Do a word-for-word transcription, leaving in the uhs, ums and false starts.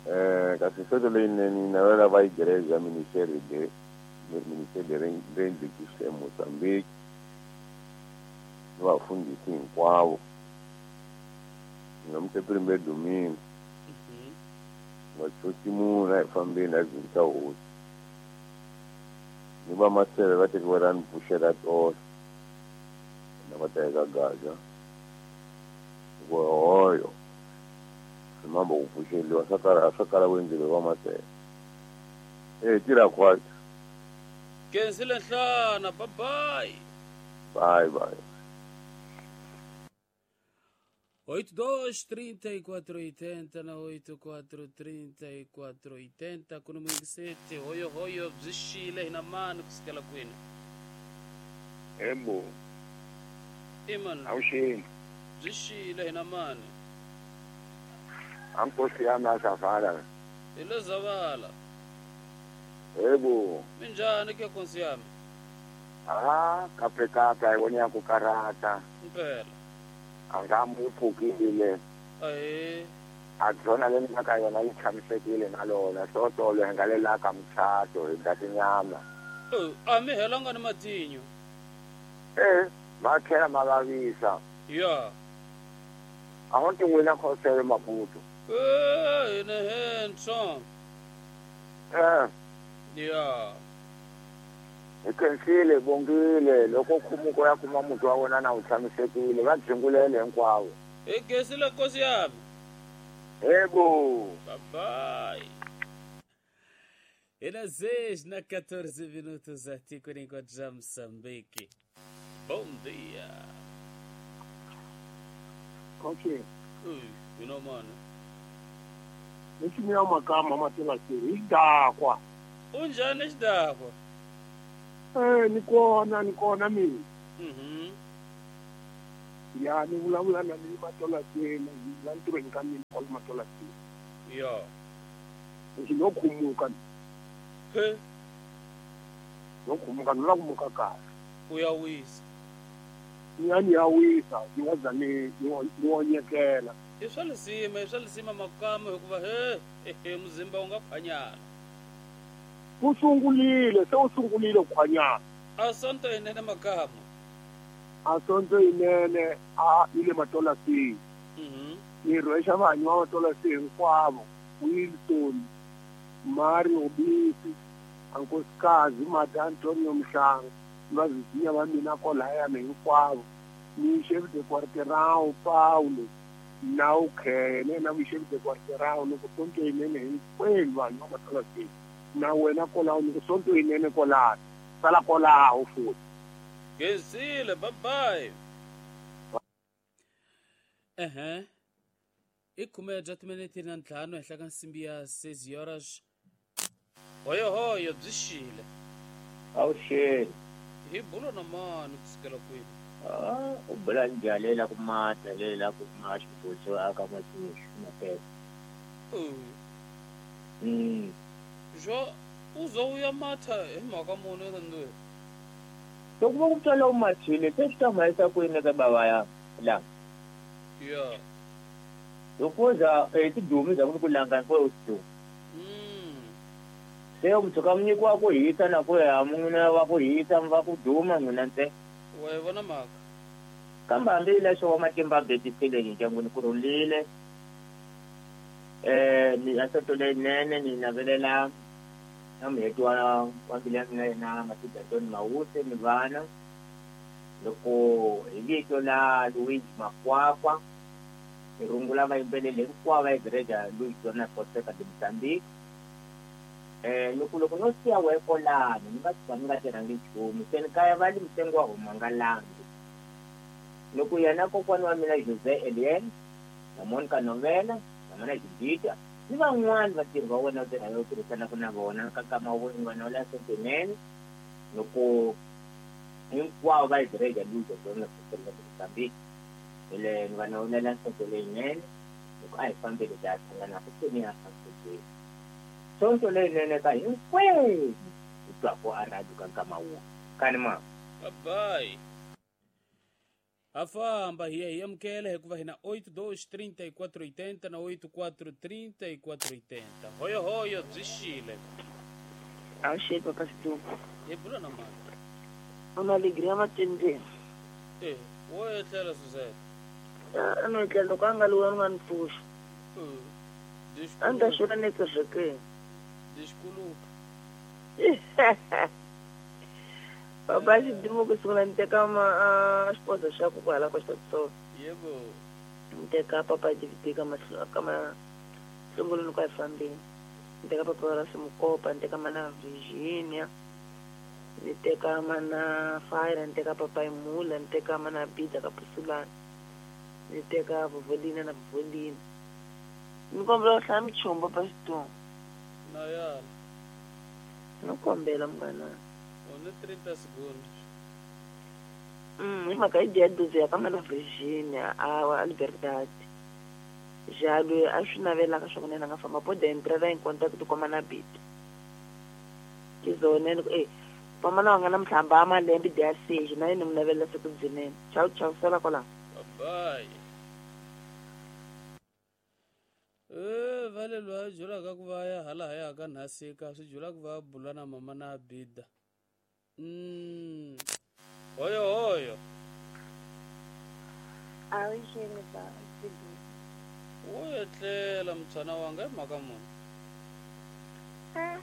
Eh, kasi sonto leyinene ni navela va igreja Ministério de Ministério de Reino de Moçambique ni vafundhisi hinkwavo. Ni primeiro domingo. Vachosi munhu a hi fambeni a hi dzunisa hosi. Ni va maseve va tekiwa ra ni pfuxela tolo. Na va ta eka gaza. Hoyo. Mambo ku pfuxeliwa swa kala swa kala ku endleriwa va maseve. Eh, tirha khwatsi. Kensile nhlana, bye bye. Bye bye. oito dois, trinta e quatro, oitenta na oito quatro, trinta e quatro, oitenta kuno mwingisete hoyo hoyo byi xile hina mani kusukela kwini? Ebo. Iman. Awuxini. Byi xile hina mani? Ankosi yami azavala. Hi le Zavala. Ebo. Minjhani ke nkosi yami? Ah, kape kape a hi voni ya ku karata. Mpela. Angamu pfukile. Ahee. A byona leyi nga ka yona yi tshamisekile na lona sotolo hi nga le la ka muchato hi dya tinyama. A mi helanga ni matinyo? Eh, ma tlhela ma vavisa. Ya. A ho ti n'wina khosele Maputo. Eh, hina henhla. Eh. Ya. Hi khensile bongile loko khumuko ya kuma muti wa wena na wu tshamisekile va dzingulele hinkwavo. Hi khensile nkosi yami. Ebo. Bye bye. Era seis na quatorze minutos aqui com encontramos Moçambique. Bom dia. Ok. Ui, you know mano. Lexi mina makama ma tiva ke xidakwa. Unjhani xidakwa? Eh, ni kona, ni kona mina. Mhm. Ya ni vulavula na ni matola tena, la ntirhweni ka mina kwala matola tena. Ya. Lexi no khumuka. He. No khumuka, no la khumuka kahle. U ya wisa. Ni ya ni ya wisa, ni nga za ni ni onyekela. I swa lisima, i swa lisima makama hikuva he, he muzimba wu nga khwanyana. Wu sungulile, se wu sungulile ku khwanyana. A sonto yinene makama. A sonto yinene a yi le Matolasini. Mhm. Ni rhwexa vanhu va Matolasini hinkwavo, Wilson, Mario Bisi, Ankosikazi Mata Antonio Mhlanga, vavizinya va mina kwalayani hinkwavo. Ni chef de quartier Paulo, na ukhene na chef de quartier loko sonto yinene hinkwenu vanhu va Matolasini. Na wena kwalaho ni ku sonto yinene kwalaho, sala kwalaho futhi. Gezile, bye bye. Aham. I khume bya timinete na ntlhanu henhla ka nsimbi ya seis horas. Hoyo hoyo byi xile. Awuxeni. Hi bulo na mani kusukela kwini? Ah, u bula njhani la ku mata le la ku ma xibutso aka matixu mapesa. Mm. Jo uzo uya matha hi mhaka muni ndwe. Loko va ku twala u mathile se swi ta mhayisa kwini ka bava ya la. Ya. Loko za eh tidumi za ku ku langa ko u tu. Mm. Se u tshuka munyiki wa ku hisa na ku ya mun'wina wa ku hisa va ku duma n'wina ntsena. Wa yi vona mhaka. Kambe hambi leswo wa matimba betisile ndyangwini ku rhulile. Eh ni asonto leyinene ni navelela na muheti wa wa mbilu ya mina yena Matilda Antoni Mawuse ni vana. Loko hi vito la Luigi Makwakwa ni rungula vayimbeleri hinkwavo va igreja Luigi Dona Fonseca de Mozambique. Eh loko loko no siya wehe kwalano ni nga tshuka ni nga tirhangi nchumu se ni kaya va li mitengo wa huma nga langi. Loko yena kokwana wa mina Jose Elien na Monica Novela na mana Judita ni van'wani vatirhi va wena u tirhaka u tirhisanaka na vona ka nkama wa vona la sentinene loko hinkwavo va igreja Luigi Dona Fonseca de Mozambique. Ele ni va navelela nsonto leyinene loko a hi fambeli hi ya hlangana futhi ya santsweni. Sonto leyinene ka hinkwenu hi twaku a radio ka nkama wun'we. Kani ma. Bye bye. Ha famba hi ya hi amukela hikuva hi na oito dois trinta e quatro oitenta na oito quatro trinta e quatro oitenta. Hoyo hoyo byi xile. Awuxeli papa Sidumo. Hi bula na mani? Una alegria matendeni. Eh, wo etlela Suzette. A no etlela loko a nga loyi a nga ni pfuxa. Eh. A ni ta xona ni kerekeni. Desculpa. Papa Sidumo ku sungula ni teka ma xiposo xa ku kwala ka xitsonga. Yebo. Ni teka papa D V D ka mahlo ka mahlongolweni kwa fambeni. Ni teka papa ra Simukopa, ni teka mana Virginia. Ni teka mana Fire, ni teka papa Imula, ni teka mana Bida ka Pusulana. Ni teka Vovolina na Vovolina. Ni kombela u hlaya michumba papa Sidumo. Na ya. No kombela mngana. One trinta segundos. Hum, hi mhaka yi dya doze ya ka mana Virginia a Liberdade. Já loyi a swi navelaka swa ku na yena a nga famba po entrar em contato com a mana Bida. Ke zone eh pamana wa nga na mhlamba a malembe dia seis na yena mi navelela siku byinene. Tchau tchau sala kwala. Bye. Eh vale lwa jula ka ku va ya hala ya ka nhasika swi jula ku va bula na mama na Bida. Mm. Hoyo hoyo. Awuxeni ba Sidumo. Wo etlela mtshana wanga hi mhaka muni? Ah,